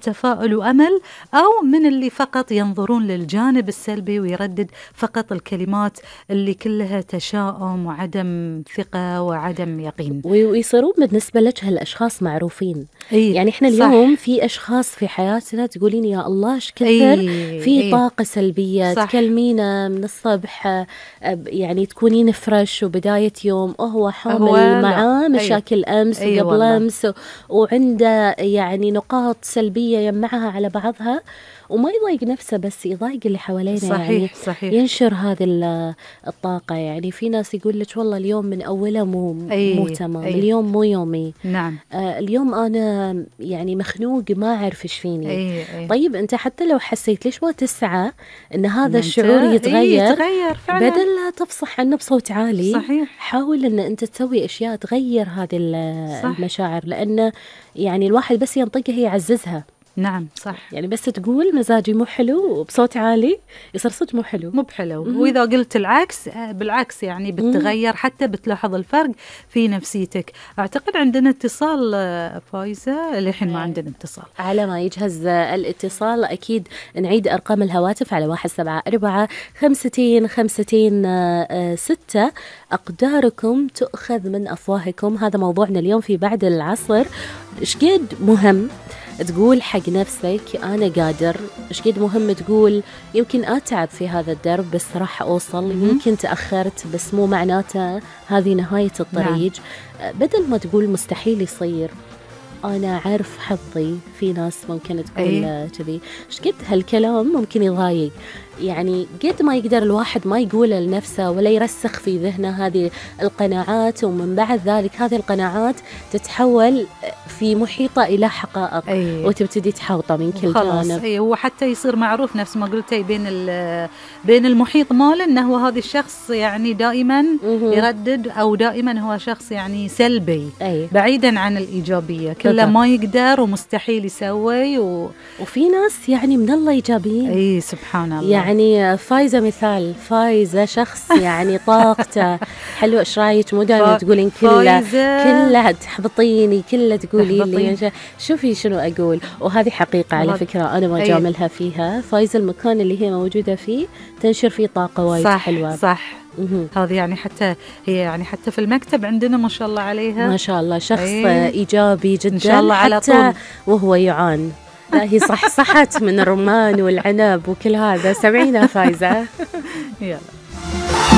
تفاؤل وأمل، أو من اللي فقط ينظرون للجانب السلبي ويردد فقط الكلمات اللي كلها تشاؤم وعدم ثقة وعدم يقين. ويصيرون بالنسبة لك هالأشخاص معروفين. يعني إحنا اليوم في أشخاص في حياتنا تقولين يا الله إيش كثر في طاقة سلبية، تكلمينا من الصبح يعني تكونين فريش وبداية يوم هو حامل معاه مشاكل أمس وقبل أمس وعنده يعني نقاط سلبية يجمعها على بعضها، وما يضايق نفسه بس يضايق اللي حوالينا. صحيح. ينشر هذه الطاقة. يعني في ناس يقول لك والله اليوم من أوله مو تمام. اليوم مو يومي. نعم. اليوم أنا يعني مخنوق ما أعرف إيش فيني. طيب أنت حتى لو حسيت ليش ما تسعى إن هذا الشعور يتغير فعلا. بدل لا تفصح عنه بصوت عالي. صحيح. حاول إن أنت تسوي أشياء تغير هذه المشاعر، لأن يعني الواحد بس ينطقها يعززها. نعم صح. يعني بس تقول مزاجي مو حلو بصوت عالي يصير صوت مو حلو. وإذا قلت العكس بالعكس يعني بتغير، حتى بتلاحظ الفرق في نفسيتك. أعتقد عندنا اتصال فايزة، الحين ما عندنا اتصال. على ما يجهز الاتصال أكيد نعيد أرقام الهواتف على 1745 أقداركم تؤخذ من أفواهكم. هذا موضوعنا اليوم في بعد العصر. إيش قد مهم تقول حق نفسك أنا قادر، إيش قد مهم تقول يمكن أتعب في هذا الدرب بس راح أوصل، يمكن تأخرت بس مو معناته هذه نهاية الطريق. بدل ما تقول مستحيل يصير، أنا عارف حظي. في ناس ممكن تقول كذي. إيش قد هالكلام ممكن يضايق. يعني قد ما يقدر الواحد ما يقوله لنفسه ولا يرسخ في ذهنه هذه القناعات، ومن بعد ذلك هذه القناعات تتحول في محيطة إلى حقائق وتبتدي تحوطه من كل جانب. وحتى يصير معروف نفس ما قلتي بين المحيط ماله أنه هذا الشخص يعني دائما يردد، أو دائما هو شخص يعني سلبي بعيدا عن الإيجابية، كله ما يقدر ومستحيل يسوي وفي ناس يعني من الله إيجابيين. سبحان الله. يعني فايزة مثال، فايزة شخص يعني طاقته حلوة. إيش رايك؟ مو دائما تقولين كلها تحبطيني، كلها تقولي لي شوفي شنو أقول. وهذه حقيقة على فكرة أنا ما جاملها فيها. فايزة المكان اللي هي موجودة فيه تنشر فيه طاقة وايد حلوة. صح. هذه يعني حتى هي يعني حتى في المكتب عندنا ما شاء الله عليها، ما شاء الله شخص إيجابي جدا. إن شاء الله على طول وهو يعان. لا هي صحت من الرمان والعنب وكل هذا. سمعينا فايزة. يلا.